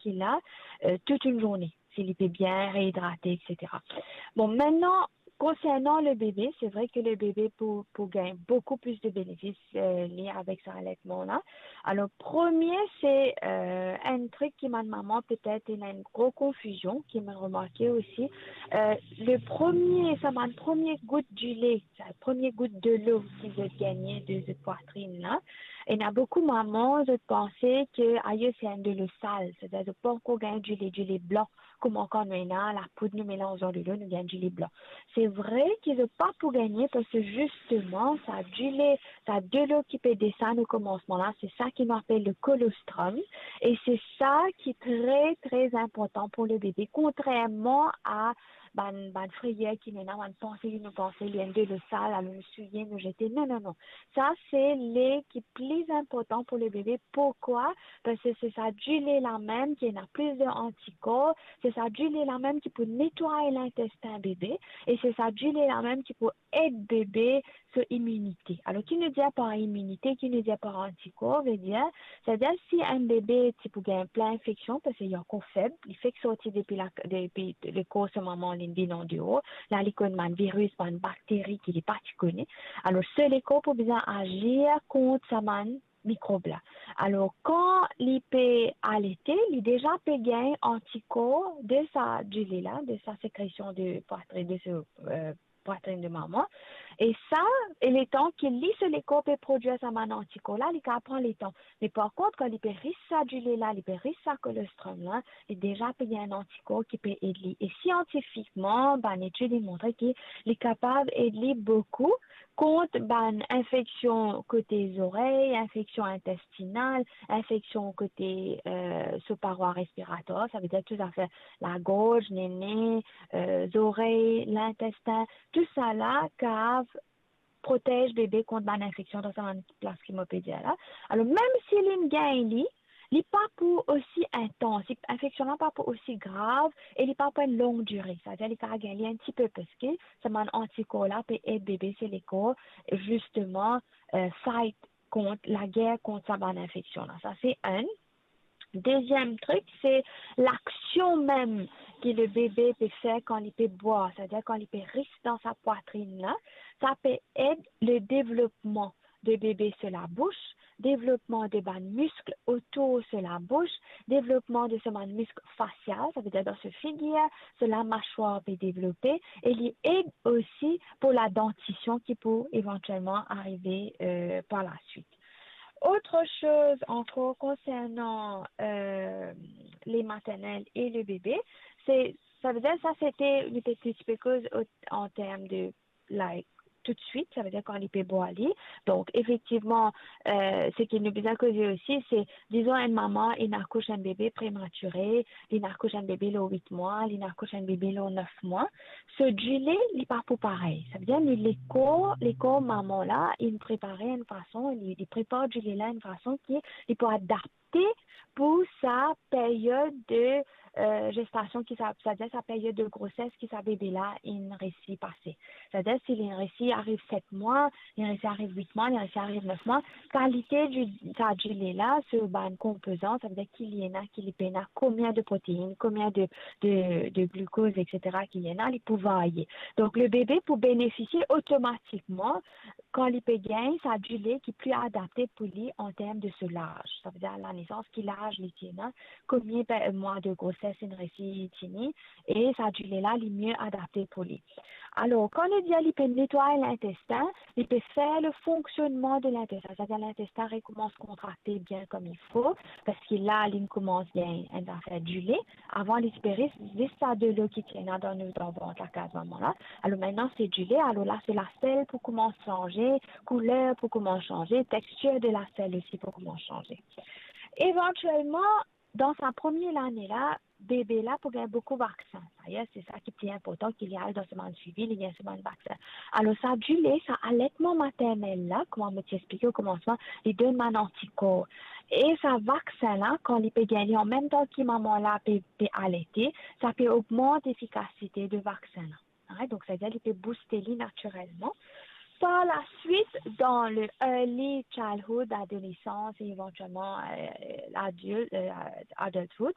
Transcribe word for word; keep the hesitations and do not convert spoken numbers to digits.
ki la, euh, toute une journée, si li pe bien réhydraté, et cetera. Bon, maintenant, concernant le bébé, c'est vrai que le bébé pou, pou gagn beaucoup plus de bénéfices, euh, lié avec sa allaitement la. Alors, premier, c'est, euh, un truc ki bann maman, peut-être, il y a une grosse confusion, ki mo remarke aussi. Euh, le premier, sa bann premie gout dilé, sa premie gout dilo ki zot gagne de zot pwatrin la, ena boukou maman, zot panse ke, ayo, se enn dilo sal, setadir zot pa ankor gagn dilé, dilé blan, kouma kan nou ena lapoud, nou melanz dan dilo, nou gagn dilé blan. Se vre ki zot pa pou gagne, parski zisteman, sa dilé, sa dilo ki pe desann o komansman la, se sa ki nou apel le colostrum, e se sa ki tre, tre inportan pou le bebe, kontrerman a bann, bann frayer ki nou ena, bann panse ki nou panse li enn dilo sal, alor nou souye, nou zete. Non, non, non. Sa, se li ki pli inportan pou le bebe. Pourkwa? Parski se sa dilé la mem ki ena plis de antikor, se sa dilé la mem ki pou netway lintestin bebe, e se sa dilé la mem ki pou ed bebe so iminite. Alor, ki nou dir par iminite, ki nou dir par antikor, ve dir, setadir si enn bebe ti pou gagn plin infeksion, parski li ankor feb, li fek sorti depi la, depi lekor so mama, li vinn andeor, la li konn bann viris, bann bakteri ki li pa ti kone. Alor, so lekor pou bizin azir kont sa bann mikrob la. Alor, kan li pe alete, li deza pe gagn antikor de sa dilé la, de sa sekresion de pwatrin, de so, euh, pwatrin de mama. E sa, e letan ki li, so lekor pe prodwir sa bann antikor la, li kapav pran letan. Me par kont, kan li pe ris sa dilé la, li pe ris sa colostrum la, li deza pe gagn antikor ki pe ed li. E siantifikman, bann etid inn montre ki li kapav ed li boukou kont bann infeksion kote zorey, infeksion intestinal, infeksion kote, euh, so parwa respiratwar, sa ve dir tou zafer lagorz, nene, euh, zorey, lintestin, tou sa la kapav protez bebe kont bann infeksion dan sa bann plas ki mo pe dir la. Alor, mem si li gagn li, li pa pou osi intans, li, infeksion la pa pou osi grav e li pa pou enn long dire. Setadir li kapav gagn li enn tipe, parski sa bann antikor la pe ed bebe so lekor, zisteman, euh, fight kont, lager kont sa bann infeksion la. Sa se enn. Deziem trik, se laksion mem ki le bebe pe fer kan li pe bwar, setadir kan li pe ris dan sa pwatrin la, sa pe ed le devlopman de bebe so labous, devlopman de bann misk otour so labous, devlopman de so bann misk fasial, sa ve dir dan so figir, so lamaswar pe devlope, e li ed osi pou ladantision ki pou evantielman arive, euh, par la suite. Autre chose encore concernant, euh, lait maternel et le bébé, c'est, sa ve dir, sa se te, nou pe, ti pe koz o, an term de, like, toutswit, sa ve dir kan li pe bwar li. Donk, efektivman, euh, seki nou bizin koze osi, se, dizon, enn mama, li akouch enn bebe prematire, li akouch enn bebe lor wit mwa, li akouch enn bebe lor nef mwa. So dilé, li pa pou parey. Sa ve dir, li, lekor, lekor mama la, li prepare enn fason, li, li prepar dilé la enn fason ki li pou adapte pou sa period de, euh, gestasion ki sa, setadir sa period de groses ki sa bebe la inn resi pase. Setadir si li resi ariv set mwa, li resi ariv wit mwa, li resi ariv nef mwa, kalite di, sa dilé la, so bann konpozan, sa ve dir ki li ena, ki li pena, konbien de protein, konbien de, de, de glucose, et cetera ki li ena, li pou varye. Donk, le bebe pou benefisie otomatikman kan li pe gagn sa dilé ki pli adapte pou li an term de so laz. Sa ve dir lanesans, ki laz li ti ena, konbien pe, mwa de groses li resi tini, e sa dilé la, li mie adapte pou li. Alor, kan nou dir li pe netway lintestin, li pe fer le fonksionnman de lintestin, setadir lintestin rekoumans kontrakte bien kouma fo, parski la, li koumans gagn enn zafer dilé. Avan, li ti pe ris zis sa dilo ki ti ena dan nou, dan vant lakaz mama la. Alor, mintnan, se dilé. Alor la, so lasel pou koumans sanze, kouler pou koumans sanze, tekstir de lasel osi pou koumans sanze. Evantielman, dan sa premie lane la, bebe la pou gagn boukou vaksin. Dayer, se sa ki pli inportan, ki li al dan so bann swivi, li gagn so bann vaksin. Alor, sa dilé, sa aletman maternel la, kouma mo ti explike o komansman, li donn bann antikor. E sa vaksin la, kan li pe gagn li an mem tan ki mama la pe, pe alete, sa pe ogmant lefikasite de vaksin la. Right? Donk, setadir li pe bouste li natirelman. Par la suite, dan le early childhood, adolesans e evantielman, euh, adil-, euh, adulthood,